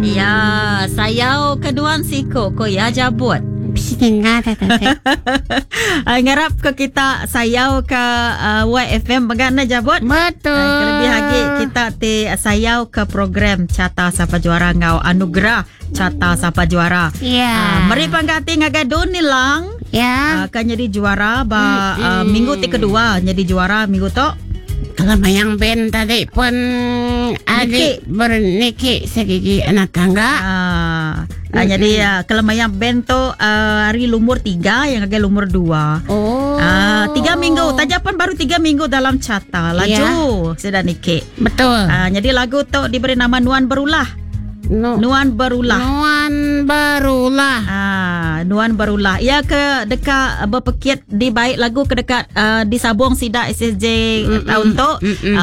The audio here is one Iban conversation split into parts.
Ya, sayau ke nuan siku ko ya jabut. Bisi ninga ta tadi. Ngarap ke kita sayau ke uh, YFM mega na jabut. Betul. Uh, kelebih lagi kita ti sayau ke program Carta Sapa Juara ngau Anugerah Carta Sapa Juara. Ya. Uh, meri panggati ngagai Don Nilang. Ya. Uh, kan jadi juara ba uh, minggu ti kedua jadi juara minggu tu. Kalau mayang band tadi pun adik berniki segigi anak tangga. Ah, ah, jadi uh, kalau mayang band tu uh, hari lumur 3 yang agak lumur 2. Oh. Ah, 3 minggu. Tajapan baru 3 minggu dalam carta. Laju Ya. sudah niki. Betul. Ah, jadi lagu tu diberi nama Nuan Berulah. No. Nuan Berulah. Nuan berulah. Ah, Nuan Berulah. Ia ke dekat berpekit di baik lagu ke dekat uh, disabung sidak SSJ tahun tu.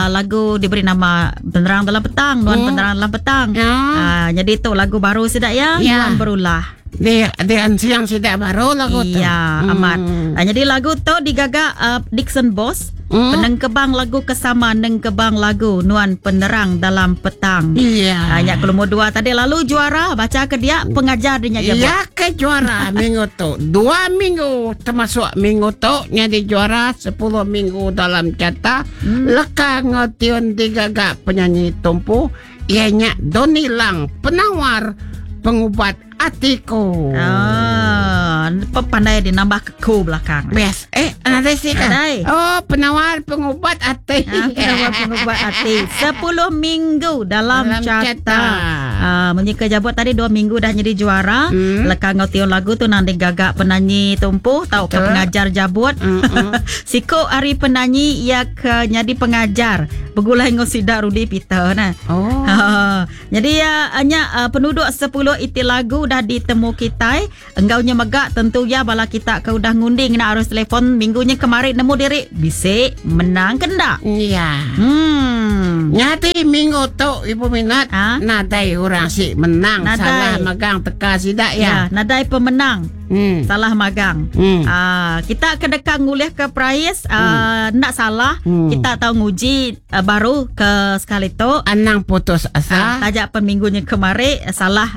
Lagu diberi nama Penerang Dalam Petang, Nuan Penerang Dalam Petang. Ya. Ah, jadi tu lagu baru sidak ya, Ya. Nuan Berulah. Di di siang sidak baru lagu tu. Iya, amat. Ah, jadi lagu tu digagak Dixon Boss. Penengkebang lagu kesama nengkebang lagu Nuan Penerang Dalam Petang. Iya. Hanya ke nombor 2 tadi lalu juara baca ke dia pengajar dia nyak Ya ke juara minggu tu. 2 minggu termasuk minggu tu jadi juara 10 minggu dalam carta. Leka ngotion digagak penyanyi tumpu ianya Doni Lang penawar pengubat atiku. Ah, pandai dia nambah ke ku belakang. Best. Ada sih kan? Nadai. Oh, penawar pengubat hati. Ah, penawar pengubat hati. 10 minggu dalam, Dalam carta. carta. Ah, menyika jabut tadi 2 minggu dah jadi juara. Lekang ngau tiun lagu tu nanti gagak penyanyi tumpuh tau ke Betul. pengajar jabut. Siko hari penyanyi ia ke jadi pengajar. Begulai ngau sidak Rudy Peter nah. Oh. Ha, jadi ya hanya penduduk 10 iti lagu dah ditemu kita. Enggaunya megak tentu ya bala kita ke udah ngunding nak arus telefon minggunya kemarin nemu diri bisik menang kendak. Iya. Nyati minggu tu ibu minat Ha? nadai orang si menang Nadai. salah magang teka sidak Ya, ya. nadai pemenang. Salah magang. Ah, kita ke dekat ngulih ke prize nak salah kita tahu nguji baru ke sekali tu. Anang putus asa. Tajak peminggunya kemari salah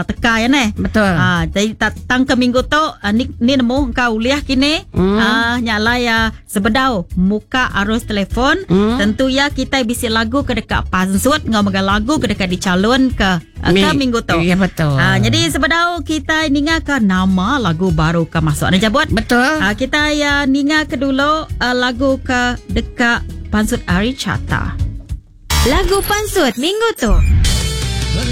teka ya neh. Betul. Jadi tang ke minggu tu ni, ni nemu kau uliah kini. Nyala ya sebedau muka arus telefon. Tentu ya kita bisi lagu ke dekat pansut ngau megang lagu ke dekat dicalon ke ke minggu tu. Ya betul. Jadi sebedau kita ninga ke nama lagu baru ke masuk. Nah jabut. Betul. Kita ya ninga ke dulu lagu ke dekat pansut Ari Chata. Lagu pansut minggu tu.